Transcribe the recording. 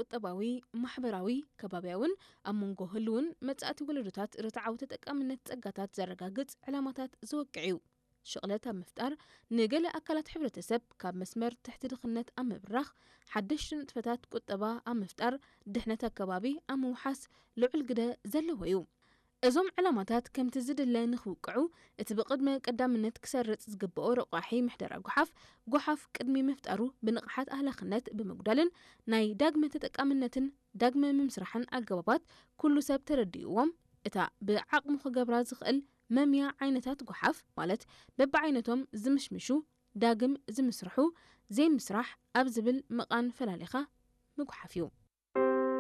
ቁጠባዊ፣ ማሕበራዊ፣ ከባብያውን ኣብ መንጎ ህልውን መጻእቲ ወለዶታት ርትዓዊ ተጠቃምነት ጸጋታት ዘረጋግጽ ዕላማታት ዘወቅዕ እዩ። ሽቕለት ኣብ ምፍጣር፣ ንገለ ኣካላት ሕብረተሰብ ካብ መስመር ትሕቲ ድኽነት ኣብ ምብራኽ፣ ሓደሽቲ ንጥፈታት ቁጠባ ኣብ ምፍጣር፣ ድሕነት ኣከባቢ ኣብ ምውሓስ ልዑል ግደ ዘለዎ እዩ። እዞም ዕላማታት ከምቲ ዝድለ ንኽውቅዑ፣ እቲ ብቕድመ ቀዳምነት ክሰርጽ ዝግብኦ ረቋሒ ምሕደራ ጓሓፍ፣ ጓሓፍ ቅድሚ ምፍጣሩ ብንቕሓት ኣህላኽነት ብምጉዳልን ናይ ዳግመ ተጠቃምነትን ዳግመ ምምስራሕን ኣገባባት ኩሉ ሰብ ተረዲእዎም፣ እታ ብዓቕሙ ክገብራ ዝኽእል መምያ ዓይነታት ጓሓፍ፣ ማለት በብዓይነቶም ዝምሽምሹ፣ ዳግም ዝምስርሑ፣ ዘይምስራሕ ኣብ ዝብል መቓን ፈላሊኻ ምጉሓፍ እዩ።